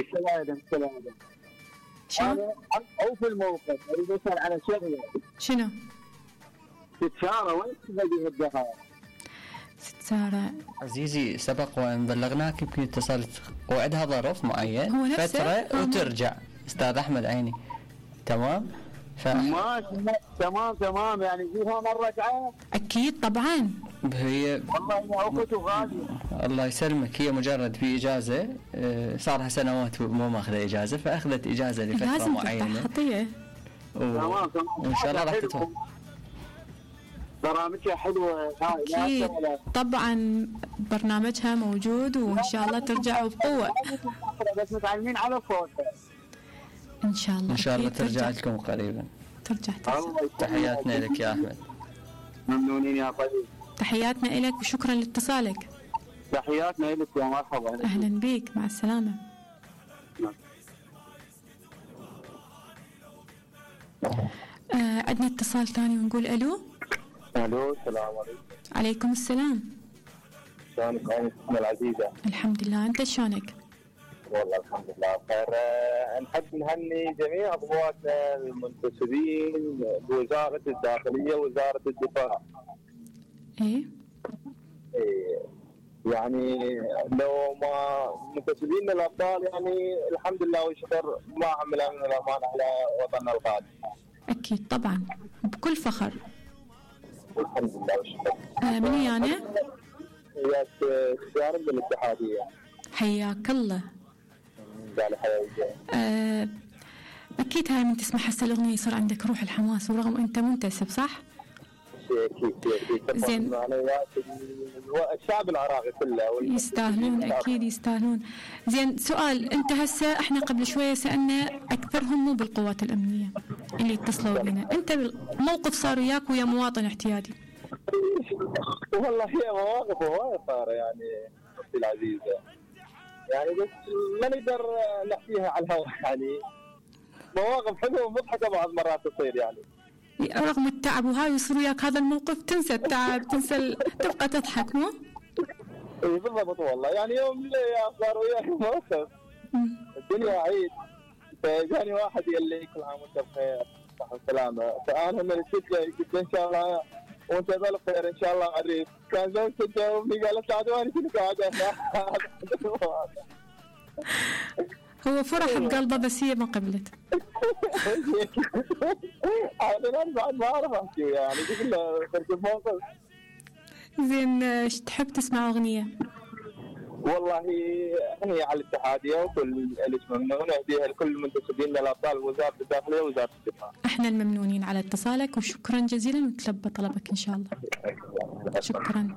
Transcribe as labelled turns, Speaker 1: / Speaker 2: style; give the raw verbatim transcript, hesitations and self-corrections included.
Speaker 1: السلام السلام.
Speaker 2: شنو؟
Speaker 1: او في الموقف اريد اسال على شغله.
Speaker 2: شنو؟
Speaker 1: ست ساره وين تبدي الدخل؟
Speaker 2: ست ساره
Speaker 3: عزيزي سبق وان بلغناك يمكن اتصلت وعدها ظرف معين
Speaker 2: هو نفسه؟
Speaker 3: فتره وترجع. استاذ احمد عيني تمام. ف...
Speaker 1: ماشي تمام تمام يعني فيها مره تعال.
Speaker 2: اكيد طبعا.
Speaker 3: هي
Speaker 1: والله يا اخوتي غاليه.
Speaker 3: الله يسلمك، هي مجرد في اجازه صار لها سنوات مو ماخذه اجازه، فاخذت اجازه لفتره
Speaker 2: لازم
Speaker 3: معينه.
Speaker 2: خطيه.
Speaker 3: و...
Speaker 1: تمام تمام.
Speaker 3: وان شاء الله راح تتوفق.
Speaker 1: برامجها حلوه.
Speaker 2: اكيد طبعا برنامجها موجود وان شاء الله ترجع بقوه.
Speaker 1: بس متعلمين على صوتها
Speaker 2: ان شاء الله.
Speaker 3: ان شاء الله ترجع لكم قريبا.
Speaker 2: ترجع
Speaker 3: تحياتنا لك يا احمد.
Speaker 1: ممنونين يا طيب.
Speaker 2: تحياتنا لك وشكرا لاتصالك.
Speaker 1: تحياتنا لك يا مرحبا.
Speaker 2: اهلا بك، مع السلامه. آه عندنا اتصال ثاني ونقول الو.
Speaker 1: الو السلام عليكم.
Speaker 2: عليكم السلام.
Speaker 1: شلونك أمي العزيزه؟
Speaker 2: الحمد لله، انت شلونك؟
Speaker 1: والله الحمد لله بخير. نحب نهني جميع ضباطنا المنتسبين بوزاره الداخليه ووزاره الدفاع.
Speaker 2: ايه
Speaker 1: إيه يعني لو ما منتسبين للابطال يعني الحمد لله والشكر ما عمل امن الامان على وطننا الغالي.
Speaker 2: اكيد طبعا بكل فخر.
Speaker 1: الحمد لله والشكر.
Speaker 2: آه من ويانا؟
Speaker 1: وياك اختيار من الاتحاديه.
Speaker 2: حياك الله.
Speaker 1: قال حياك.
Speaker 2: آه اكيد هاي من تسمع هسه الاغنيه يصير عندك روح الحماس ورغم انت منتسب صح؟
Speaker 1: اكيد اكيد.
Speaker 2: زين.
Speaker 1: الشعب العراقي كله
Speaker 2: يستاهلون اكيد يستاهلون. زين سؤال، انت هسه احنا قبل شويه سالنا اكثرهم مو بالقوات الامنيه اللي اتصلوا بنا، انت موقف صار وياك ويا مواطن احتياطي.
Speaker 1: والله هي مواقف هوايه صار يعني اختي العزيزه يعني بس ما نقدر نحكيها على الهواء يعني مواقف حلوه ومضحكه بعض مرات تصير يعني
Speaker 2: رغم التعب وهاي يصير وياك هذا الموقف تنسى التعب تنسى ال... تبقى تضحك مو؟
Speaker 1: اي بالضبط والله يعني يوم يا صار وياك موقف الدنيا عيد فجاني واحد قال لي كل عام وانت بخير صحة وسلامة فأنا من الشدة قلت إن شاء الله وانت بالخير إن شاء الله عريف كان زوجتي تجاوبني قالت لا دواني كنت قاعدة
Speaker 2: هو فرح بقلبه بس هي ما قبلت.
Speaker 1: أنا بعد ما أعرف أحكي يعني كله تركب موقف.
Speaker 2: زين ايش تحب تسمع أغنية؟
Speaker 1: والله هي على الاتحادية وكل اللي ممنون أهديها لكل المنتسبين للأبطال وزارة الداخلية ووزارة الدفاع.
Speaker 2: احنا الممنونين على اتصالك وشكرا جزيلا وتلبى طلبك إن شاء الله. شكرا.